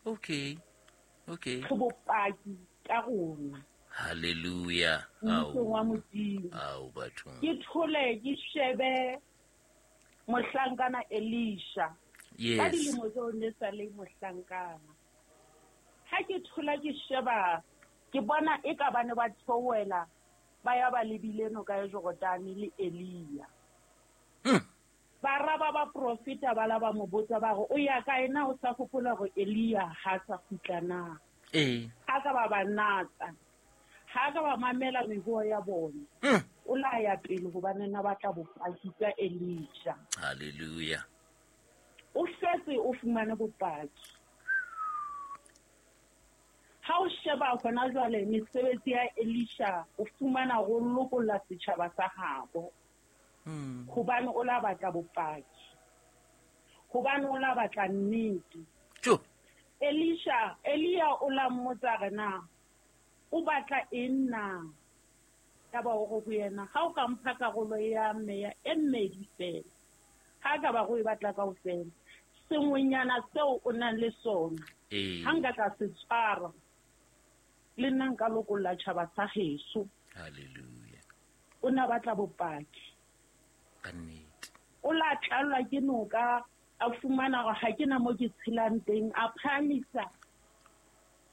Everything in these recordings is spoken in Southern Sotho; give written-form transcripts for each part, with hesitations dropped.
Okay, okay. Re bopaki ka rona. Hallelujah. Mmusong wa Modimo. Ao bathong. Ke thole ke shebe mohlankana Elisha. Yes. Ka dilemo tseo ne sa le mohlankana. Ha ke thola ke sheba ke bona e ka ba ne ba theohela ba ya ba lebile noka ya Jordane le Elia. Bara ba baprofeta ba la ba mo botsa ba re, O ya kae na? O sa hopola hore Elia ha a sa kgutla na? Ee. Ha ka ba ba natsa, ha ka ba mamela mehoo ya bona. O la ya pele hobane na batla bopaki ka Elisha. Hallelujah. O setse o fumane bopaki. Ha o sheba hona jwale mesebetsi ya Elisha, o fumana ho lokolla setjhaba sa habo. Hobane o la batla bopaki. Hobane o la batla nnete. Jo. Elisha, Elia o la mmotsa re na, o batla eng na? Yaba o re ho yena, ha o ka mpha karolo ya meya e mmedi feela, ha ka ba go e batla kaofela, sengwenyana seo o nang le sona, ha nka ka se tshwara, le nna nka lokolla tjhaba sa heso. Hallelujah. O ne a batla bopaki. Ka nnete. O la tlallwa ke noka, a fumana hore ha ke na mo ke tshelang teng, a phahamisa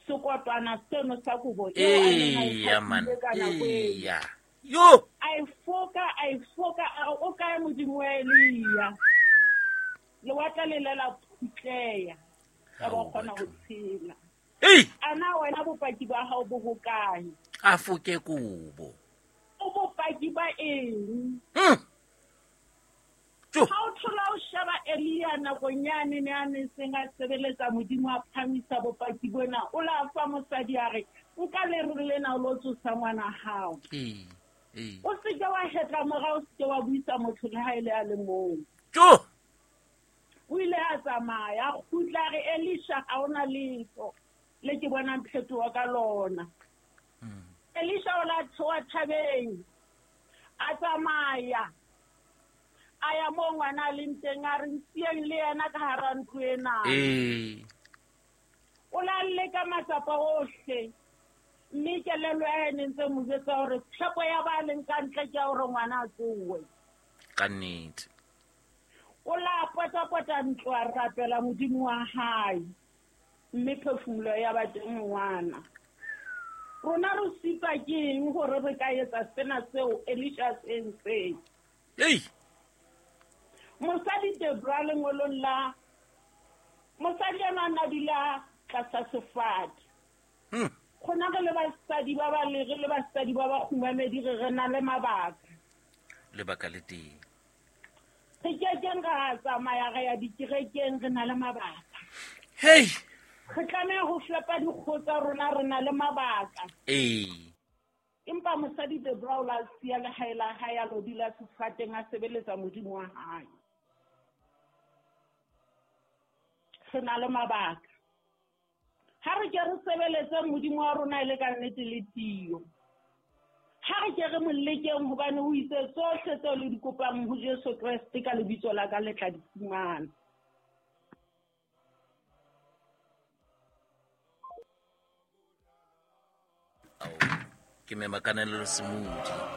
sekotwana seno sa kobo eo a neng a e Eya, man. hatile ka nako eo. Eya. Yo! A e foka, a e foka, a re, o kae Modimo wa Elia? Lewatle le ile la phutleha, ya ba o kgona ho tshela. Ei! A na wena bopaki ba hao bo hokae? A foke kobo. O bopaki ba eng? Jo. Ha o thola o sheba Elia nakong yane ne a ne seng a sebeletsa Modimo a phamisa bopaki bona, o la fa mosadi a re, nka lere lena o lo tsosa ngwana hao. Ee, ee. O se ke wa hetla morao, o se ke wa buisa motho le ha e le a le mong. Jo. O ile a tsamaya, a kgutla a re, Elisha, ha ona letho le ke bonang phetoho ka lona. Elisha o la theoha thabeng, a tsamaya, a ya moo ngwana a leng teng, a re, nsieng le yena ka hara ntlo ena. Ee. O la leka matsapa ohle, mme kelello ya hae ne ntse mo jwetsa hore tshepo ya ba leng ka ntle ke ya hore ngwana a tsohe. Ka nnete. O la potapota ntlo a rapela Modimo wa hae, mme phefumoloho ya ba teng ngwana. Rona re sitwa ke eng hore re ka etsa sena seo Elisha a se entseng? Ei! Mosadi Debra lengolong la mosadi enwa a na dula tlasa sefate. Rona re le basadi ba ba le, re le basadi ba ba kgumamedi re re na le mabaka. Lebaka le teng. Re kekeng ra tsamaya re ya dikerekeng, re na le mabaka. Hey! Re tlameha ho fepa dikgoho tsa rona, re na le mabaka. Ee. Empa mosadi Debra o la siya lehae la hae a lo dula sefateng a sebeletsa Modimo wa hae. Re na le mabaka. Ha re ke re sebeletse Modimo wa rona e le ka nnete le tiyo. Ha re ke re mo lekeng hobane o itse tsohle tseo le di kopang ho Jesu Kreste ka lebitso la ka le tla di fumana. Ao, ke mema kananelo Semodi.